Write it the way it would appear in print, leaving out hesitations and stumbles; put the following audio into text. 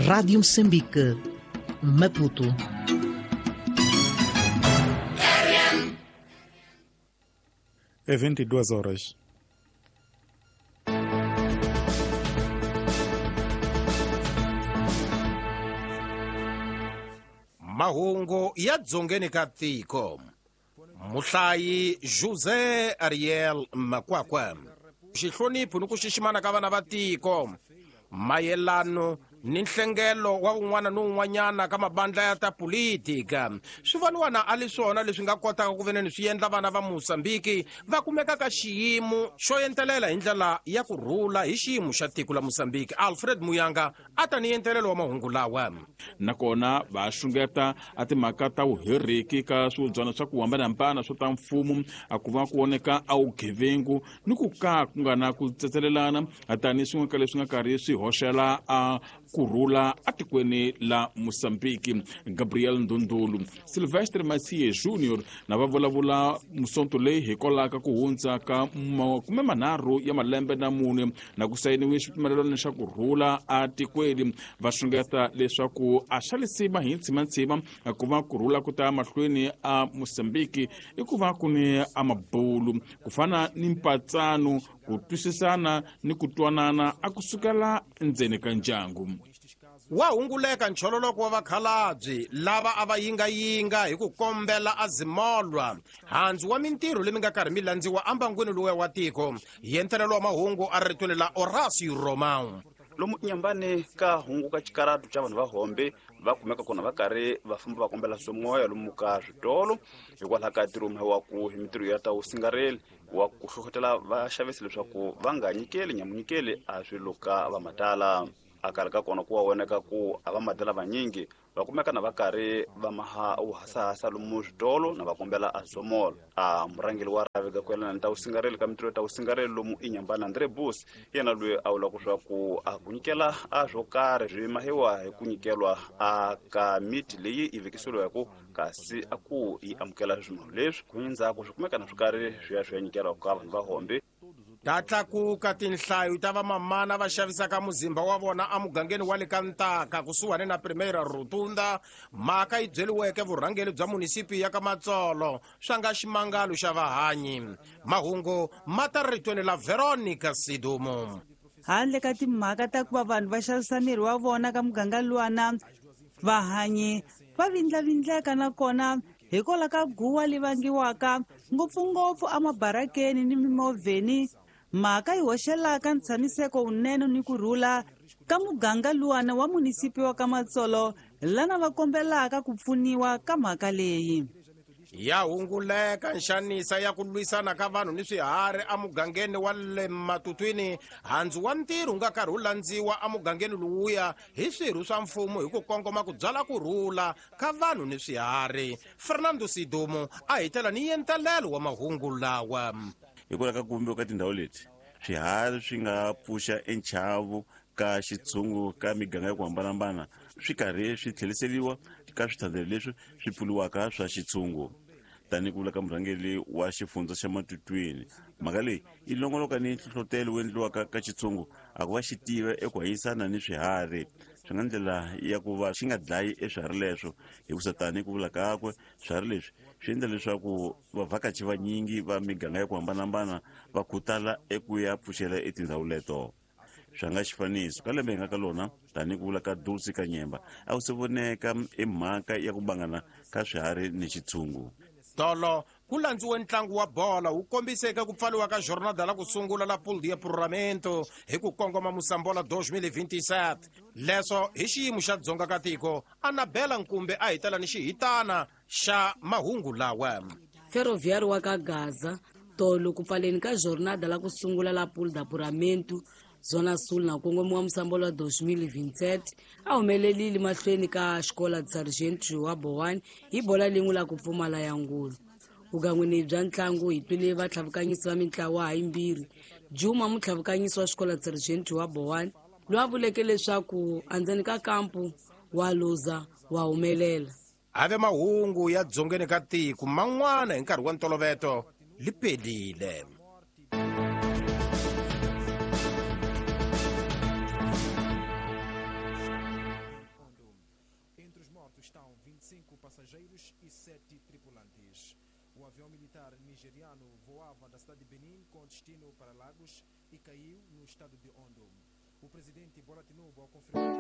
Rádio Moçambique, Maputo. É 22 horas. Mahungu ya dzongeni ka tiko. Muhlayi José Ariel Makwakwa. Xihlonipho ni ku xiximana ka vana va tiko. Mayelano ni nhlengelo wa un'wana ni un'wanyana ka mabandla ya ta politika swi voniwa a li swona leswi nga kotaka ku veneni swi endla vana va Mozambiki va kumeka ka xiyimo xo entelela hi ndlela ya ku rhula hi xiyimo xa tiko la Mozambiki. Alfred Muyanga a ta ni entelelo wa mahungu lawa. Nakona va xungeta a timhaka ta vuheriki ka swihubyana swa ku hambanahambana swo ta mfumo, a ku va ku voneka a vugevengu ni ku ka ku nga na ku tsetselelana tanihi swin'we ka leswi nga karhi swi hoxela a kurhula atikweni la Mozambiki. Gabriel Ndundulu, Silvestre Masie Junior na va vulavula musonto leyi hikwalaho ka ku hundza ka 30 ya malembe na mune na ku sayiniwe xipfumelelano xa ku rhula atikweni. Va xungeta leswaku a xa lisima hi ntsimantsima ku va ku rhula ku ta mahlweni a Mozambiki i ku va ku ni a mabulu ku fana ni mpatsano, ku twisisana ni ku twanana a kusukela ndzeni ka ndyangu. Wa hunguleka nchololoko wa vakhalabye lava a va yingayinga hi ku kombela azimolwa handzu wa mintirho leyi mi nga karhi mi landziwa ambangwini luwa wa tiko. Yentelelo wa mahungu a ri ritweni la Horacio Romão. Lomu nyambani ka hungu ka xikaratu xa vanhu va hombe va kumeka kona va karhi va famba va kombela swimoya lomu ka switolo hikwalaho ka ntirho wa ku hi mintirho ya ta vusingareli wa ku hlohlotela vaxavisi leswaku va nga nyikeli nyamunyikeli a swilo ka va matala. A karhi ka kona ku wa voneka ku a va matala vanyingi va kumeka na va karhi va maha wuhasahasa lomu switolo na va kombela a somolo. A murhangeri wa rhavi ka ku yelana ni ta vusingareli ka mintirho ta vusingareli lomu inyambana Andre Bus yena loyi a vulaka swa ku a ku nyikela a swo karhi swi mahiwa hi ku nyikelwa a ka miti leyi yi vekiseriweke kasi a ku yi amukela swilo leswi ku endzhaku swi kumeka na swi karhi swi ya swi ya nyikela ka vanhu va hombe. Ta tlakuka tinhlayo ta vamamana va xavisaka muzimba wa vona emugangeni wa le ka Ntaka kusuhani na Primeira Rotunda. Mhaka yi byeliweke vurhangeri bya munisipi ya ka Matsolo swa nga ximangalo xa vahanyi. Mahungu ma ta ritweni la Veronica Sidumo. Handle ka timhaka ta ku va vanhu va xavisa miri wa vona ka muganga luwana, vahanyi va vindlavindleka nakona hikwalaho ka guwa li vangiwaka ngopfungopfu emabarakeni ni mimovheni. Mhaka yi hoxelaka ntshamiseko wunene ni ku rhula ka muganga luwana wa munisipi wa ka Matsolo lana va kombelaka ku pfuniwa ka mhaka leyi. Ya hunguleka nxanisa ya ku lwisana ka vanhu ni swiharhi emugangeni wa le Matutwini. Handzu wa ntirho wu nga karhi wu landziwa emugangeni lowuya hi swirho swa mfumo hi ku kongoma ku byala ku rhula ka vanhu ni swiharhi. Fernando Sidumo a hitela ni yentelelo wa mahungu lawa. Hikwalaho ka ku vumbiwa ka tindhawu leti, swiharhi swi nga pfuxa enchavo ka xitshungu ka miganga ya ku hambanahambana swi karhi swi tlheriseriwa ka swithandzelo leswi swi pfuriwaka swa xitshungu. Tanihi ku vula ka murhangeri wa xifundza xa Matutwini, mhaka leyi yi longoloka ni nhlohlotelo wu endliwaka ka xitshungu a ku va xi tiva eku hanyisana ni swiharhi. Swi nga ndlela ya ku va xi nga dlayi eswiharhi leswo, hikusa tanihi ku vula kakwe swiharhi leswi swi endla leswaku vavhakachi vanyingi va miganga ya ku hambanahambana va khutala eku ya pfuxela etindhawu leto. Swa nga xifaniso ka lembe hi nga ka lona, tanihi ku vula ka Dulce Kanyemba, a ku se voneka i mhaka ya ku bangana ka swiharhi ni xitshungu. Tolo ku landziwe ntlangu wa bola wu kombiseke ku pfaliwa ka jornada la ku sungula la Pool de Apuramento hi ku kongoma Mosambola 2027. Leswo hi xiyimo xa dzonga ka tiko, Anabela Nkumbe a hitela ni xihitana xa mahungu lawa. Ferroviário wa ka Gaza tolo ku pfaleni ka jornada la ku sungula la Pool de Apuramento Zona Sul na kongomiwa Mosambola 2027 a humelelile mahlweni ka xikola Sargento João Bowane hi bola lin'we la ku pfumala ya ngulu. Vugangwini bya ntlangu hi twile vatlhavukanyisi va mintlawa hayimbirhi. Juma mutlhavukanyisi wa xikola Sargento João Bowane loyi a vuleke leswaku endzeni ka kampu wa luza wa humelela. Have mahungu ya dzongeni ka tiko man'wana hi nkarhi wa ntoloveto li pelile. Entre os mortos estão 25 passageiros e 7 tripulantes. O avião militar nigeriano voava da cidade de Benin com destino para Lagos e caiu no estado de Ondo. O presidente Bola Tinubu, ao confirmar